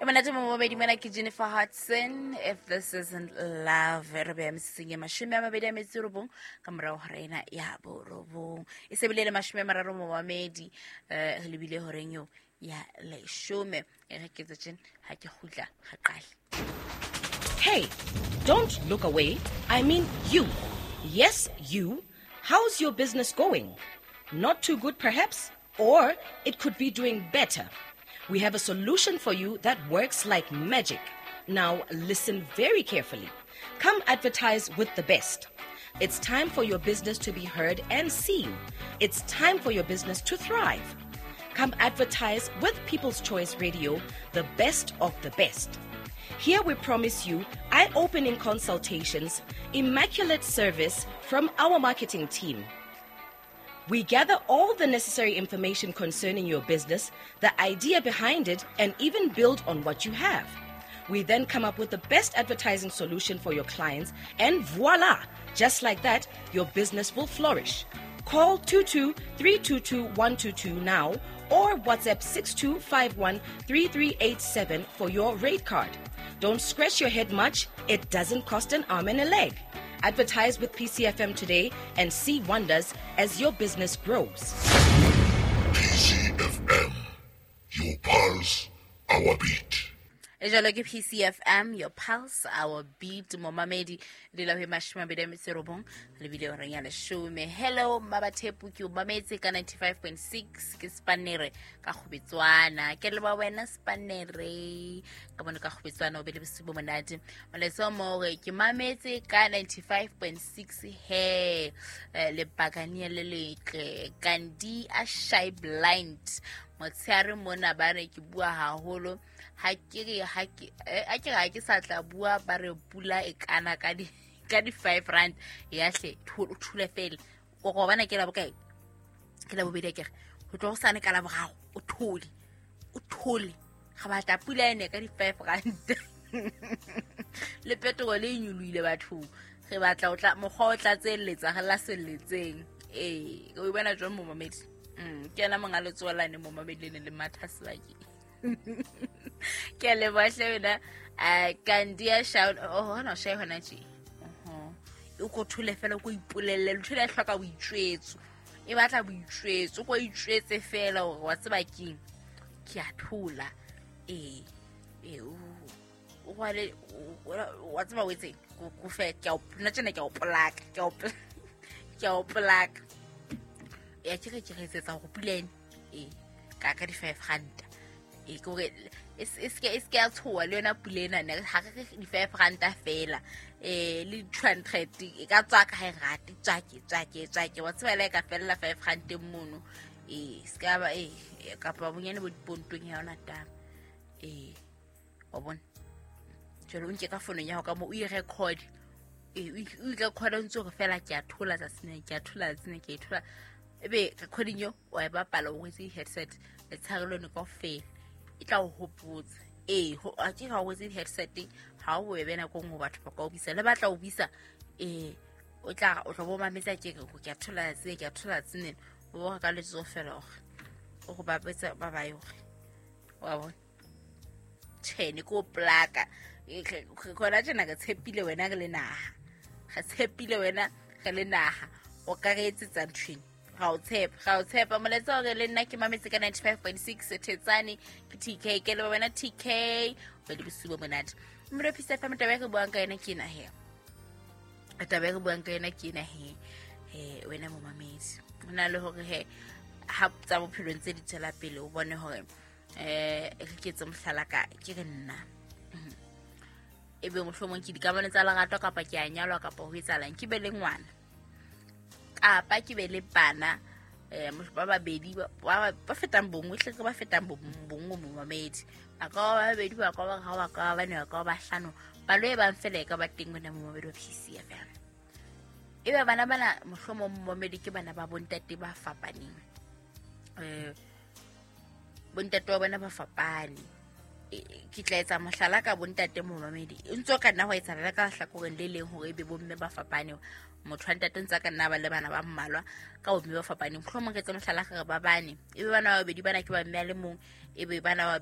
Monate mo mona ke Jennifer Hudson, "If This Isn't Love". Re beya metsetseng e 29 ka morago ga ena ya 9, e sebile le 30 momamedi. Re lebile horeng eo ya 10. E re ke tse ha ke gutla ga qale. Hey, don't look away. I mean you. Yes, you. How's your business going? Not too good, perhaps? Or it could be doing better. We have a solution for you that works like magic. Now, listen very carefully. Come advertise with the best. It's time for your business to be heard and seen. It's time for your business to thrive. Come advertise with People's Choice Radio, the best of the best. Here we promise you eye opening consultations, immaculate service from our marketing team. We gather all the necessary information concerning your business, the idea behind it, and even build on what you have. We then come up with the best advertising solution for your clients, and voila! Just like that, your business will flourish. Call 22 322 122 now or WhatsApp 6251 3387 for your rate card. Don't scratch your head much, it doesn't cost an arm and a leg. Advertise with PCFM today and see wonders as your business grows. PCFM, your pulse, our beat. E jalo ke PCFM, your pulse, our beat, momamedi. Dula ho 29 lebile horeng ya 10. Hello Mmabathepu, ke o mametse ka 95.6, ke Spanere ka Kgobetswana. Ke leba wena Spanere ka bone ka Kgobetswana, o be le bosiu bo monate. Molaetsa o mo hore ke mametse ka 95.6 he. Lebakania le letle Kandi a shy blind motshehare mona, ba re ke bua haholo. Ha ke re ha ke a ke ha ke sa tla bua, ba re pula e kana ka di R5 ya hle. Thule fela go go bana ke la bokae? Ke la bobedi ke re ho tlo go sane ka la boraro. O thole, o thole, ga batla pula ene ka di R5 le petrol e nyolohile bathong. Re batla o tla mokgwa o tlatselletsa re la selletseng. Ee, o bona jwang momamedi? Ke ena monga letsoalane momamedi le ne le matha sebakeng. Ke a leboha hle wena. Kandia shout oh hona o shae hona tje. O ko thole fela, o ko ipolelle ntho ena e hloka boitjwetso, e batla boitjwetso. O ko itjwetse fela hore wa tseba keng, ke a thola. Ee, o rwale wa tseba o etseng ko fe ke a o nna tjena, ke a o polaka, ke a o polaka ya ke re ke re etsetsa hore pula ene ee ka di R5. Ee, ke hore e se ke ya tshoha le yona pula ena ne ha re re di R5 fela, le 200 e ka tswa ka ha e rate, tswake tswake tswake wa tseba le e ka fella R5 mono. Ee, se ka ba ee kapa bonyane bo dipontong ya yona taba. Ee, wa bona jwale o nke ka fonong ya hao ka mo o i-record. Ee, o i-record o ntse hore fela ke a thola tsatsing lena, ke a thola tsatsing lena, ke a e thola. Ebe recording eo wa e bapala o rwetse di-headset letshehare lone kaofela, e tla o hopotsa. Ee, a ke ha o rwetse di-headset ha o bobebe nako e nngwe batho ba ka o buisa le batla o buisa. Ee, o tla o tlo bo mametsa ke re ke a thola tsatsing, ke a thola tsatsing lena, o bo ka letsoho fela hore o go bapetsa ba bae hore wa bona. Tjhe, ne ke o plaka khona tjena. Re tshepile wena re le naha, re tshepile wena re le naha, o ka re etsetsa nthweng. Ga o tshepa, ga o tshepa. Molaetsa hore le nna ke mametse ka 95.6 Thetsane, ke TK. Ke leba wena TK, o be le bosiu bo monate. Mmino Peace FM. Taba e re buang ka yona ke ena he, taba e re buang ka yona ke ena he. Wena momamedi, ho na le hore he ha tsa bophelong tse di tswela pele, o bone hore re ke etse mohlala ka ke re nna ebe mohlomong ke dikamano tsa lerato kapa ke a nyalwa kapa ho etsahalang, ke be le ngwana kapa ke be le bana ba babedi ba fetang bongwe hle ke ba fetang bongwe momamedi, ba ka ba babedi, ba ka ba ga ba ka ba bane, ba ka ba bahlano, palo e bang fela e ka ba teng. Wena momamedi wa PCFM, ebe bana bana mohlomong momamedi ke bana ba bontate ba fapaneng, bontate wa bona ba fapane. Ke tla etsa mohlala ka bontate momamedi, e ntse o ka nna ho etsahala le ka hlakoreng le leng hore ebe bomme ba fapane, motho wa ntate ntse a ka nna ba le bana ba mmalwa ka bomme ba fapaneng. Mohlomong re etse mohlala re re ba bane, ebe bana ba babedi bana ke ba mme a le mong, ebe bana ba